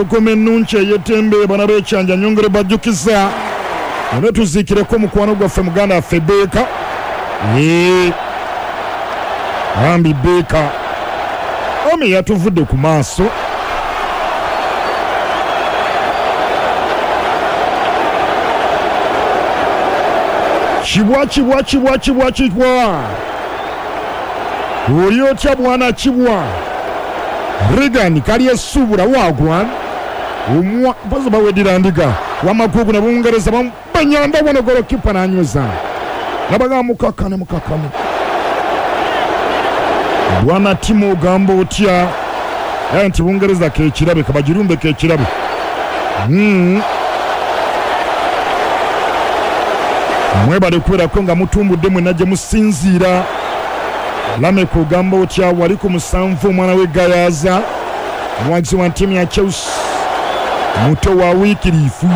Empologoma ennungi ey'eddembe bana b'ekyanja nyongere bajjukiza none tuziikireko mukwano gwaffe muganda waffe Beeka. Yee, bambi Beeka omi yatuvudde ku maaso. Kibwa kibwa kibwa kibwa kibwa, oli otya bwana Kibwa? Regan kali esubula wagwan omwa mpozi bawedira ndiga wamagugu na Bungereza banyanda wano golokipa nanyweza nabaga mukakane mukakane. Bwana Timo ogamba otya? Yaye nti Bungereza kekirabe kabagirumbe kekirabe. Mwebale kubeerako nga mutumbudde mwenna gye musinziira. Lameck ogamba otya? Wali ku 7 omwana w'e Gayaza, omuwagizi wa ttiimu ya Chelsea, muto wa Wycliffe.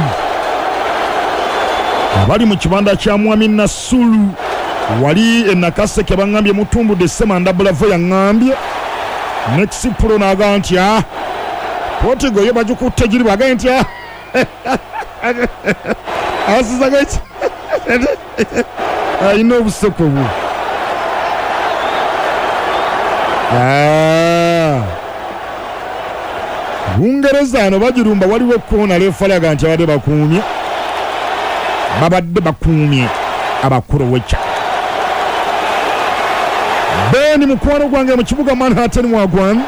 Abali mu kibanda kya Mwami Nasulu wali e Nakaseke baŋŋambye mutumbudde Ssemanda Bravo yaŋŋambye. Next Pro n'agamba nti ah, Portugal yo bagikutte giri bw'agambye nti ah, asizaga ki alina obuseko bwe. Bungereza ano bagirumba, waliwo ekkoona refa aga nti abadde bakuumye, babadde bakuumye Abakuroweca. Ben mukwano gwange mu kibuga Manhattan wagwan,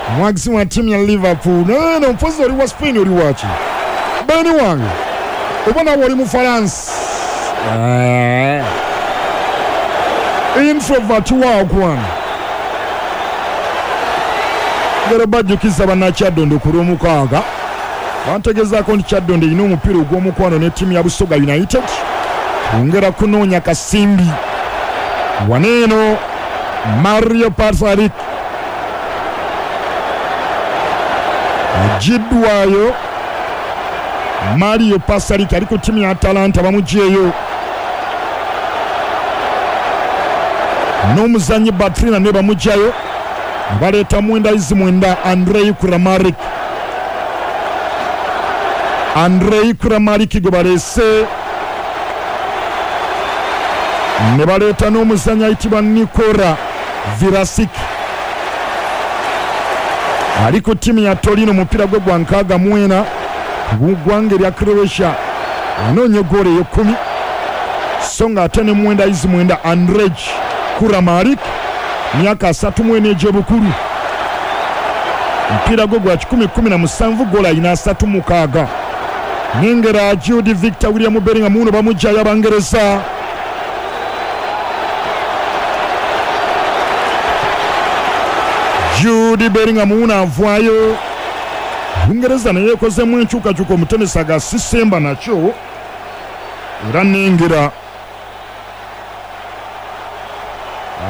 omuwagizi wa ttiimu ya Liverpool. Neno mpozi oli wa Spain oli waki? Ben wange oba nawe oli Mufaransa? Introvert wagwan. Ngero bajjukiza bannakyaddondo ku Lwomukaaga, bantegezaako nti Kyaddondo erina omupiira ogw'omukwano ne ttiimu ya Busoga United kwongera kunoonya kasimbi. Wano eno Mario Patrick agiddwayo. Mario Pasalic ali ku ttiimu ya Atalanta bamugyeyo n'omuzannyi Batrina ne bamugyayo baleeta mwenda izi mwenda Andrei Kramaric. Andrei Kramaric gwe baleese ne baleeta n'omuzannyi ayitibwa Nikola Virasic ali ku ttiimu ya Torino, omupiira gwe gwa 64 ku ggwanga erya Croatia, anoonya eggoolo ey'ekkumi, so nga ate ne mwenda izi mwenda Andrej Kramaric myaka 34 egy'obukulu, omupiira gwe gwa 117, ggoolo alina 36. Nengera Jude Victor William Bellingham muno bamugyayo Abangereza. Jude Bellingham wuno avaayo. Bungereza naye ekozemu enkyukakyuka, omutenesi aga sisemba nakyo era nengera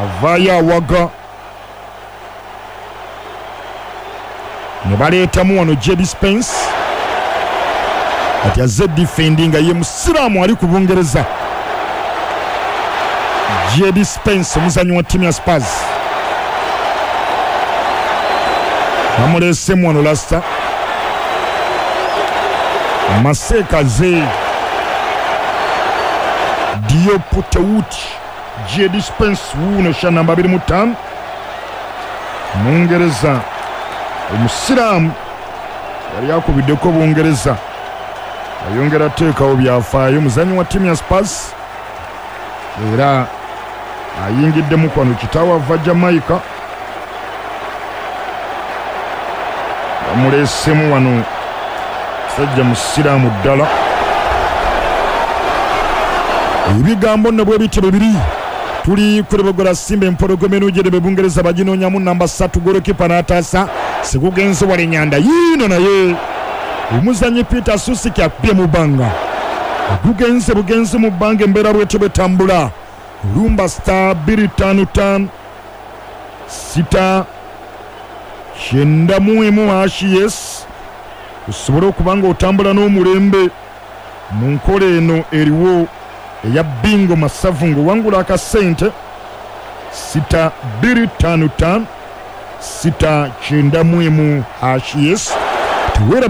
avaayo awaga ne baleetamu wano Jed Spence ati azze defendinga, ye musiraamu ali ku Bungereza. Jed Spence omuzannyi wa ttiimu ya Spurs bamuleesemu wano Leicester. Masekaze Diop Tewuti Jed Spence wuuno sha namba 25, Mungereza omusiraamu yali akubiddeko Bungereza, ayongera ateekawo byafaayo. Muzannyi wa ttiimu ya Spurs era ayingiddemu kwano, kitaawe ava Jamaica, bamuleesemu wano musajja musiraamu ddala. Ebigambo nno bwe bityo bwe biri. Tuli kulebogola Simba empologoma enujjerebe Bungereza baginoonyamu namba 3, golokipa n'ataasa sikugenze wala enyanda yiino, naye omuzannyi Peter Susiki akubye mu bbanga, gugenze bugenzi mu bbanga. Embeera bwetyo bwetambula. Lumba star 255 6 91 hashi yes, osobole okuba nga otambula n'omulembe mu nkola eno eriwo eya bingo masavu ng'owangula akasente. 6 255 6 91 hashi yes, teweerabira.